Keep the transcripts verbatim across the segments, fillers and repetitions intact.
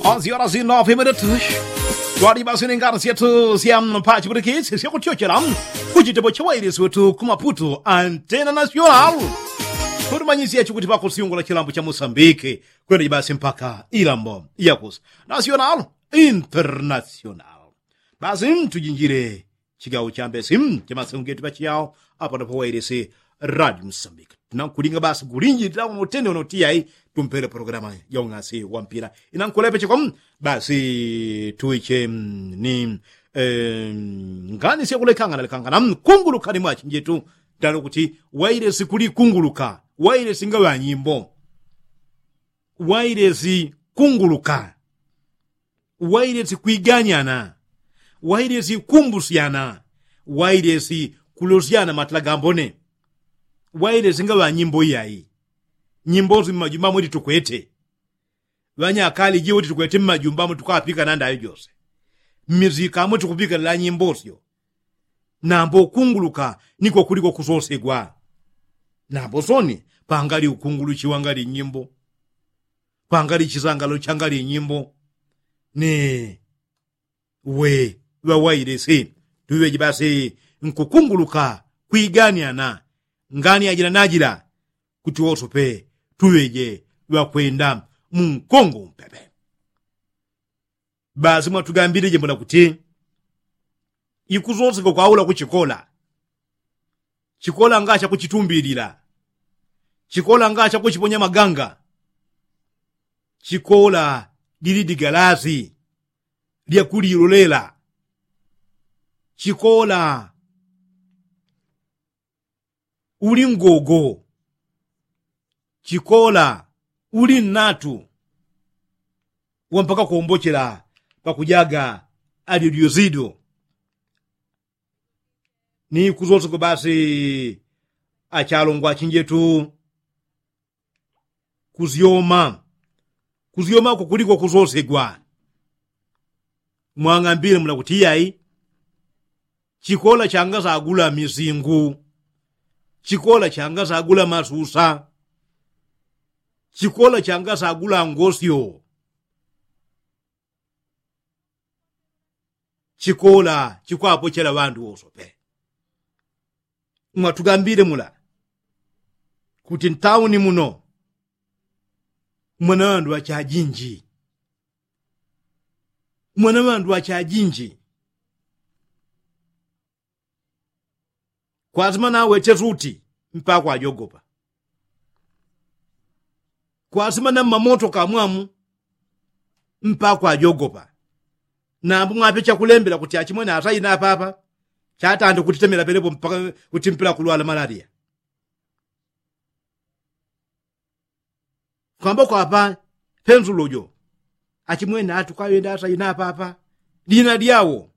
Aziora zino vimenetu. Twali basi nengano syetu sya mpachipulikisi syakutyochela kuchitepo cha wailisi wetu ku maputu antena nasyonal. Kutumanyisya chikuti pakusyungula chilambo cha musambiki kwenda jibasi mpaka ilambo yakusi nasyonal internasyonal. Basi ntujinjile chigawo chambesi chamasengo getu pachiyao. Apa ndopo wailisi radio musambiki tinankulinga basi kulinjilila uno tene uno tiyayi tumpele pologalama ya ung'asi wa mpila. Inankulepecheko basi tuiche ni ngani syakulekangana lekangana kungulukani mwachinjetu. Tano kuti wailisi kulikunguluka wailisi nga ŵanyimbo wailisi kunguluka wailesi kwiganyana wailesi kumbusyana wailesi kulosyana matala gambone. Wailesi nga ŵanyimbo iyayi nyimbo si mmajumba mweti tukwete ŵanyakali jiweti tukwete mmajumba mwe tukapika nandayo jose mmizika mwe tukupikanila nyimbo syo. Nambo kunguluka niko kuliko kusosegwa. Nambo soni pangali ukunguluchiwa ngali nyimbo pangali chisangalo changali nyimbo. Ni we ŵawailisi tuŵeje basi nkukunguluka kwiganiana ngani ajila najila kuti wosope tuŵeje ŵakwenda munkongo umpepe. Basi mwatugambilije mbona kuti ikusoseka kwaula kuchikola chikola nga chakuchitumbilila chikola nga chakuchiponya maganga chikola lili digalasi lyakulilolela chikola uli ngogo chikola uli nnatu wampaka kuombochela pakujaga alyodyosido. Ni kusoseka basi achalongwa achinjetu kusyoma kusyoma kukuliko kusosegwa. Mwang'ambile mula kuti iyayi chikola changasagula misingu chikola changasagula masusa chikola changasagula ngosyo chikola chikwapochela ŵandu wosope. Mwatugambile mula kuti ntauni muno mwana ŵandu ŵachajinji mwana ŵandu ŵachajinji. Kwasima naweche suti mpaka kwajogopa kwasima na mmamoto kamwamu mpaka kwajogopa. Nambu mwape chakulembela kuti achimwene asaina apapa chatande kutitemela pelepo mpaka kuti mpela kulwala malaria. Kwamba kwapa pensulo jo achimwene atu kwayenda asaina apapa dina dyawo.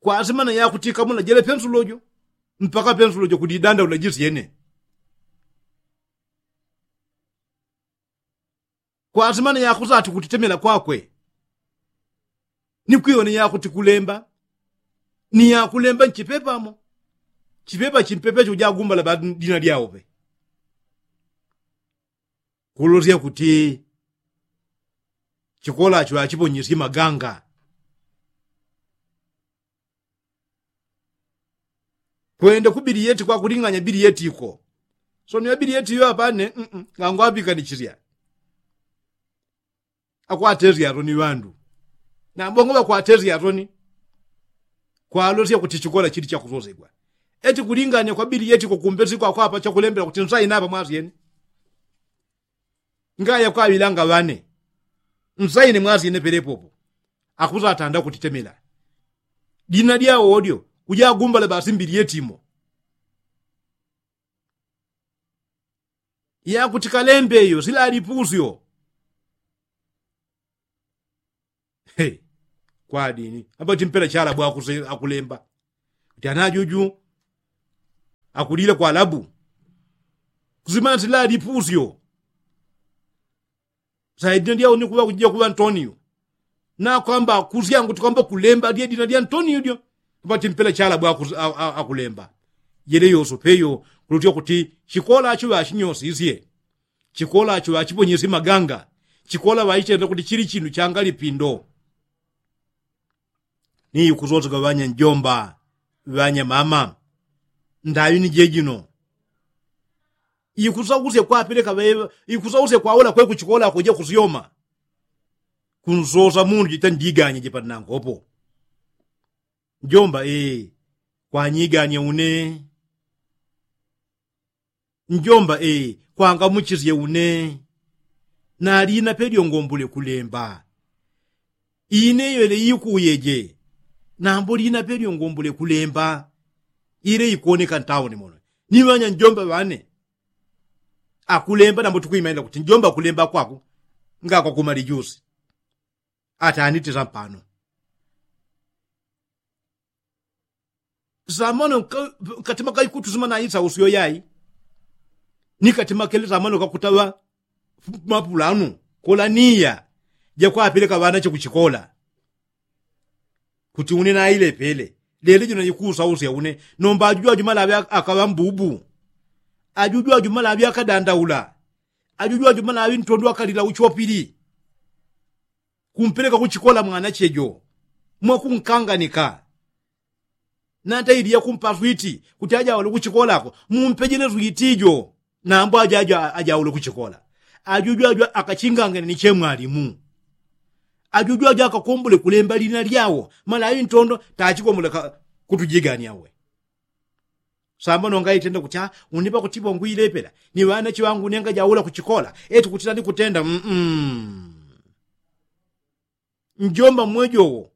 Kwasimana yakuti kamuna jele pensulo jo mpaka pensulo jo kudidanda ulajisyene. Kwasimana yakusati kutitemela kwakwe ni kwiyone yakuti kulemba ni yakulemba nchipepamo. Chipepa chimpepecho jagumbala badina dyawo pe. Kulosya kuti chikolacho achiponyesye maganga. Kwenda ku biliyeti kwakuling'anya biliyeti iko. Soni ŵa biliyeti iyo apane ngangwaŵikanichisya. Akwatesya atoni ŵandu nambongo ŵakwatesya atoni. Kwalosya kuti chikola chili chakusosegwa eti kuling'anya kwa biliyeti iko kumbesiko akwapa chakulembela kuti nsaina apa mwasyene. Ngaya kwaŵilanga ŵane nsaine mwasyene pelepopo. Akusatanda kutitemela dina dyawo dyo kujagumbala basi mbili yetimo. Yakuti kalembe iyo silali pusyo. Kwadini ambati mpela chalabu akulemba kuti anajuju akulila kwalabu. Kusimana silali pusyo. Saidina dyawo ni kuŵa kujija kuŵa ntoniyo nakwamba kusyangu tikwamba kulemba dye dina dya ntoniyo dyo. Pati mpela chalabu akulemba. Jele yoso peyo kulutya kuti chikolacho ŵachinyosisye chikolacho ŵachiponyesye maganga. Chikola ŵaitenda kuti chili chinu changalipindo. Ni ikusoseka ŵanya njomba, ŵanya mama, ndaŵi ni jejino. Ikusausya kwapeleka ŵeŵa, ikusausya kwaula kwe kuchikola kuja kusyoma. Kunsosa mundu jita ndiganye jipati nangopo. Njomba ee, kwanyiganye une. Njomba ee, kwangamuchisye une. Nalina pelyo ngombule kulemba. Ine yele ikuyeje. Nambo lina pelyo ngombule kulemba. Ile ikoneka ntauni muno. Ni ŵanya njomba ŵane. Akulemba nambo tukwimaila kuti njomba akulemba kwaku. Ngakwakumali jusi. Atanitisa mpano. Samano katima kaikutusima naisa usyo yai. Ni katima kele samano kakutaŵa mapulanu kola niya jakwapeleka ŵanache kuchikola. Kuti une nailepele lele jino ikusausya une. Nomba ajuju ajumala aŵe akaŵa mbubu. Ajuju ajumala aŵe akadandaula. Ajuju ajumala aŵe ntondo akalila uchopili. Kumpeleka kuchikola mwanache jo mwakunkanganika. Nata ili yakumpa switi kuti ajaule kuchikolako mumpejele switi jo. Nambo ajajo ajaule kuchikola. Ajuju ajo akachingangane ni chemwalimu. Ajuju ajo akakombole kulemba lina lyawo mala ayi ntondo tachikombole kutujigania we. Samba nonga itenda kuti a unipa kuti bongwilepela ni ŵanache ŵangu nenga jaula kuchikola. Eti kuti nani kutenda mm. Njomba mmwejowo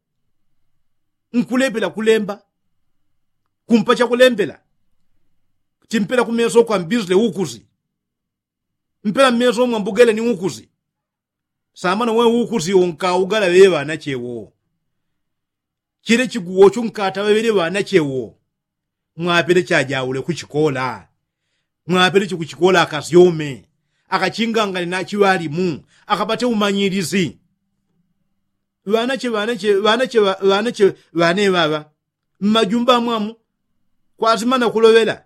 nkulepela kulemba. Kumpa chakulembela. Timpela kumeso kwa mbizle ukusi. Mpela mmeso mwa mbugele ni ukusi. Samba nowe ukusi unkaugala ŵeŵanache wo. Chile chiguwo chunkata ŵaŵele ŵanache wo. Mwapele chajaule kuchikola. Mwapele chikuchikola akasyome akachingangane nachiŵalimu akapate umanyilisi. Ŵanache ŵanache ŵanache ŵane ŵaŵa mmajumba amwamu. Kwasimana kuloŵela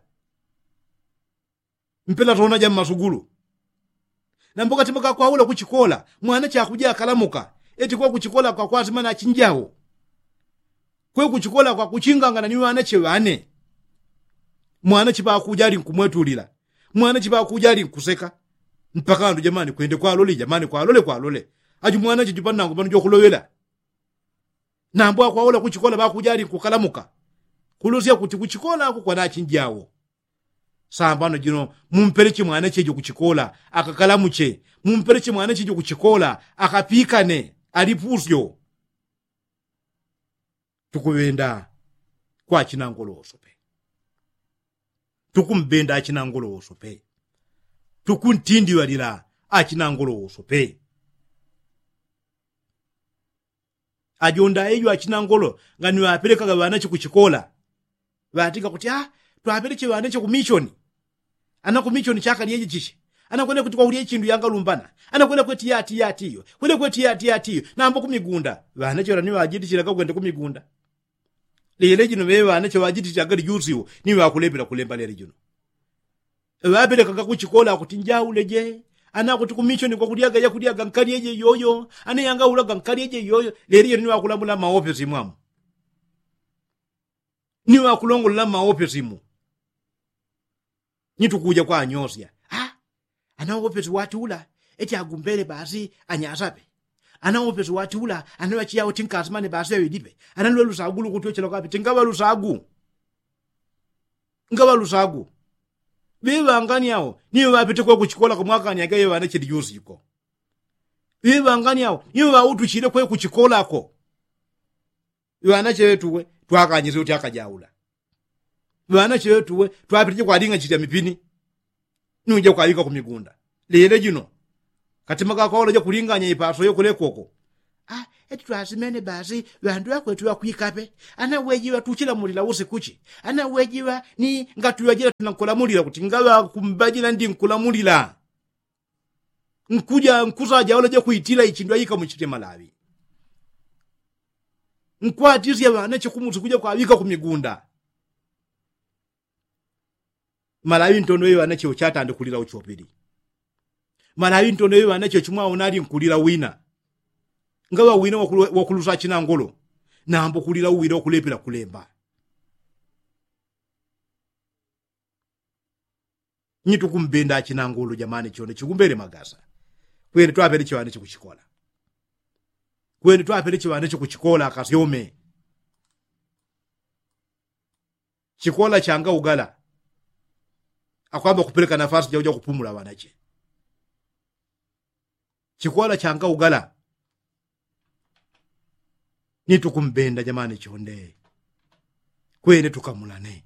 mpela tona ja mmasugulu. Nambo katima kakwaula kuchikola mwanache akuja akalamuka. Eti kwe kuchikola kwakwasimana achinjawo. Kwe kuchikola kwakuchingangana ni ŵanache ŵane. Mwanache ŵakuja ali nkumwetulila. Mwanache ŵakuja ali nkuseka. Mpaka andu jamani kwende kwalole jamani kwalole kwalole. Aji mwanache jupanangu pano jokuloŵela. Nambo akwaula kuchikola ŵakuja ali nkukalamuka. Kulosya kuti kuchikola ako kwanachinjawo. Sambano jino mumpeleche mwanache jo kuchikola akakalamuche. Mumpeleche mwanache jo kuchikola akapikane. Alipusyo. Tukuŵenda kwa achinangolo wosope. Tukumbenda achinangolo wosope. Tukuntindiŵalila achinangolo wosope. Ajonda ejo achinangolo ngani ŵapelekaga ŵanache kuchikola. Ŵatinga kuti a twapeleche ŵanache kumishoni. Ana kumishoni chakalyeje chiche. Ana kwene kuti kwakulye chindu yangalumbana. Ana kwene kweti yati yati iyo kwene kweti yati yati iyo. Nambo kumigunda ŵanache ŵalani ŵajitichilaga kwende kumigunda. Lele jino ŵeŵanache ŵajitichilaga lijusiwo ni ŵakulepela kulemba lele jino. Ŵapelekaga kuchikola akuti njauleje. Ana akuti kumishoni kwakulyaga yakulyaga nkalyeje iyoyo. Ana yangaulaga nkalyeje iyoyo. Lele jino ni ŵakulamula mmaofesi mwamu. Ni ŵakulongolola mmaopesimu. Ni tukuja kwanyosya a ana opesi wati ula eti agumbele basi anyasape. Ana opesi wati ula ana ŵachiyao tinkasimane basi aŵilipe. Ana lwe lusagu lukutyochela kwapi tingaŵa lusagu. Ngaŵa lusagu. Ŵiŵangani ao ni ŵapite kwe kuchikola kumwakanyage ŵanache lijusi ko. Ŵiŵangani ao ni ŵautuchile kwe kuchikola ko. Ŵanache ŵetuwe twakanyisye kuti akajaula. Ŵanache ŵetuwe twapitije kwaling'anyisya mipini. Nuja kwaŵika kumigunda. Lile jino katima kakoleja kulinganya ipaso yokulekoko. Eti twasimene basi ŵandu ŵakwetu ŵakwikape. Ana wejiŵa tuchilamulila usikuchi. Ana wejiŵa ni ngatuŵajila tunankulamulila kuti ngaŵakumbajila ndi nkulamulila. Nkuja nkusajaula jakwitila ichindu aika muchite malaŵi. Nkwatisya ŵanache kumusi kuja kwaŵika kumigunda. Malaŵi ntondo iŵanache uchatande kulila uchopili. Malawi ntono yo ŵanache chimwaona ali nkulila wina ngaŵa wina wakulusa achinangolo. Nambo kulila uwila wakulepela kulemba. Nyi tukumbenda achinangolo jamani chone chikumbele magasa. Kwene twapele chiŵanache kuchikola. Kwene twapele chiŵanache kuchikola akasyome. Chikola changa ugala akwamba kupeleka nafasi jauja kupumula ŵanache. Chikola changa ugala. Ni tukumbenda jamani chonde. Kwene tukamulane.